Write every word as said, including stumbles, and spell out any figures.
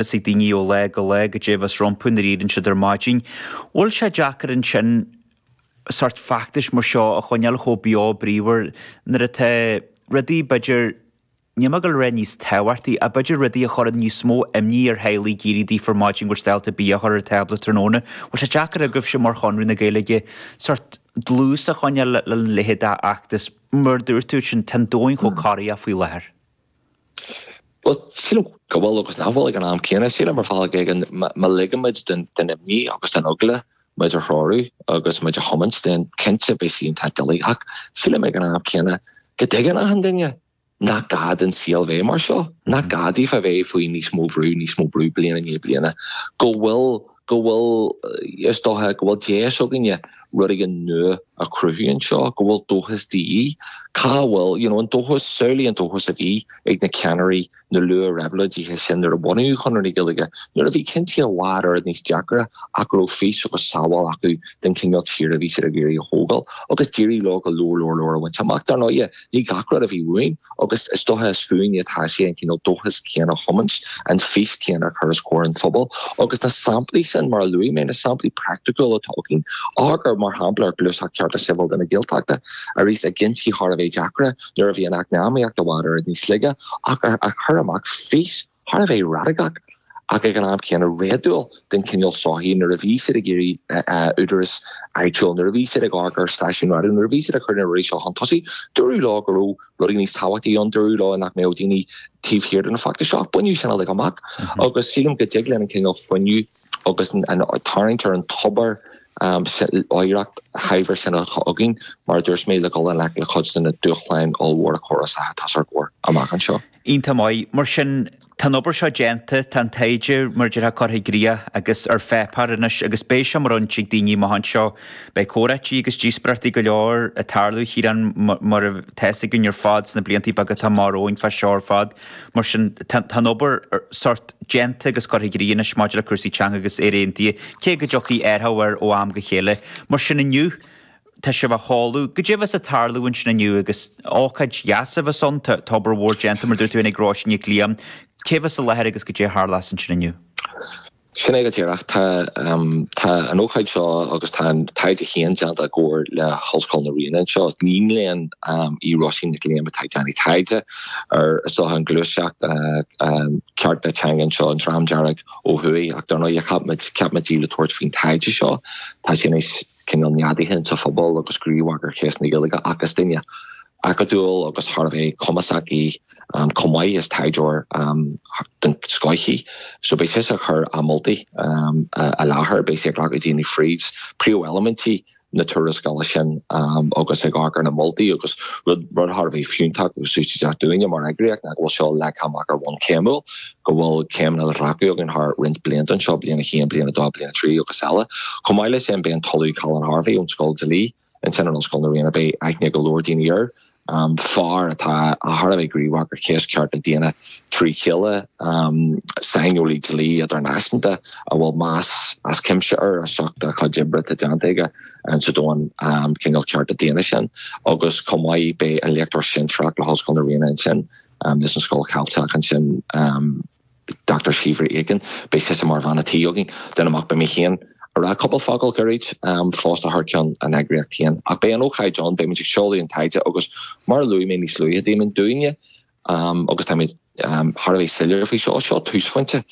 Fhios ag daoine ó lá go lá goidé a bheas rompu nuair a éiríonn siad ar maidin. Bhfuil sé deacair ansin sórt feachtais mar seo a choinneáil chomh beo bríomhar nuair atá rudaí b'fhéidir níl mé ag dul a rá níos tábhachtaí ach b'fhéidir rudaí a chuireann níos mó imní ar theaghlaigh ag éirí daofa ar maidin go bhfuil siad ábalta bia a chur ar an tábla tráthnóna. Bhfuil sé deacair agaibhse mar Chonradh na Gaeilge sórt dlús a choinneáil le leithéid d'fheachtas mar dúirt tú sin tá an domhan chomh corraitheach faoi láthair. Well sílim go bhfuil agus nach bhfuil ag an am céanna sílim ar bhealach éigin má ligimid den imní agus den eagla muid a threorú agus muid a thiomáint den cinnte beidh sé iontach doiligh ach sílim ag an am céanna go dtuigeann achan duine nach gá don saol bheith mar seo nach gá daofa bheith faoi níos mó brú níos mó brú bliain i ndiaidh bliana go bhfuil go bhfuil is dócha go bhfuil deis againne rud éigin nua a chruthú anseo go bhfuil dóchas de dhíth cá bhfuil you know, an dóchas samhlaigh an dóchas a bhí ag na ceannairí na luath-réabhlóidithe sin nuair a bunaíodh Conradh na Gaeilge nuair a bhí cinntí i bhfad oiread níos deacra ach go raibh fís agus samhail acu den chineál tíre a bhí siad ag iarraidh a thógáil agus d'éirigh leo go leor leor leor a bhaint amach dar ndóigh ní gach rud a bhí uainn agus is dócha is fúinne atá sé an cineál dóchas céanna a thiomáint an fís céanna a chur os comhair an phobail agus na samplaí sin mar a luaigh mé na samplaí praiticiúla atá againn agar mar shampla ar Ghluaiseacht Cearta Sibhialta na Gaeltachta arís a gcinntí thar a bheith deacra nuair a bhí an eacnamaíocht i bhfad oiread níos laige ach a chur amach fís thar a bheith radacach ach ag an am céanna réadúil den cineál sochaí nuair a bhí siad ag iarraidh údarás áitiúil nuair a bhí siad ag amharc ar stáisiún raidió nuair a bhí siad ag cur na rudaí seo chun tosaigh dúradh leo go raibh rudaí níos tábhachtaí ann dúradh leo nach mbeadh daoine taobh thiar den fheachtas seo baineadh sin uilig amach agus sílim go dtig linn an cineál fuinneamh agus an tarraingt ar an tobar um, oidhreacht shaibhir sin atá againn mar dúirt mé le dul le le cuid de na dúshláin ollmhóra córasacha atá os ár gcomhair amach anseo. Iontach maith mar sin tá an obair seo déanta tá an taighde mar deir curtha i gcrích agus ar pháipéar anois agus beidh sé mar fhoinse ag daoine amach anseo beidh comhráití agus díospóireachtaí go leor ag tarlú Chiaráin mar atá a fhios againn ar fad sna blianta beaga atá amach romhainn fá seo ar fad mar sin tá an obair sórt déanta agus curtha i gcrích anois maidir le cúrsaí teanga agus Éire Aontaithe cé go dtiocfaidh athrú air ó am go chéile mar sin inniu tá sibh á sheoladh goidé a bheas ag tarlú ansin inniu agus ócáid dheas a bheas ann tá obair mhór déanta mar dúirt tú ag Róisín Nic Liam cé bheas i láthair agus goidé a tharlós ansin inniu. Sin é go díreach tá um, tá an ócáid seo agus tá an taighde féin déanta i gcomhar le hOllscoil na Ríona anseo. Iníon léinn um, í Róisín Nic Liam atá ag déanamh taighde ar is dócha an ghluaiseacht uh, um, cearta teanga anseo an Dream Dearg ó thuaidh ach dar ndóigh ceapadh í le tabhairt faoin taighde seo Tá sé níos cineál neadaithe sa phobal agus gníomhach ar chéas na Gaeilge agus duine acadúil agus thar a bheith cumasach í um, chomh maith is taighdeoir um, den scoth í. So beidh sí ag cur a moltaí um, i láthair beidh sí ag glacadh daoine fríd príomheilimintí na tuarascála sin um, agus ag amharc ar na moltaí agus rud rud thar a bheith fiúntach agus úsáideach dúinne mar eagraíocht ná go bhfuil seo leagtha amach ar bhonn céimiúil go bhfuil céimeanna le glacadh againn thar roinnt blianta anseo bliain a haon bliain a dó bliain a trí agus eile. Chomh maith leis sin beidh an tOllamh Colin Harvey ón Scoil Dlí ansin in Ollscoil na Ríona beidh aithne go leor daoine air. Um, fear atá thar a bheith gníomhach ar chéas cearta daonna trí chéile um, saineolaí dlí idirnáisiúnta a bhfuil meas as cuimse air as ucht a chuid oibre atá déanta aige sa domhan um, cineál cearta daonna sin agus chomh maith beidh an léachtóir sinsearach le hOllscoil na Ríona ansin um, leis an Scoil Cheilteach ansin um, Dr. Síobhra Aiken beidh sí mar bhean an tí againn den amach beidh mé féin ag rá cúpla focal gairid um, fosta thar ceann an eagraíocht féin. Ach beidh an ócáid ann beidh ag seoladh an taighde agus mar a luaigh mé níos luaithe Damon dúinne um, agus tá um, thar a bheith soiléir faoi seo seo túsphointe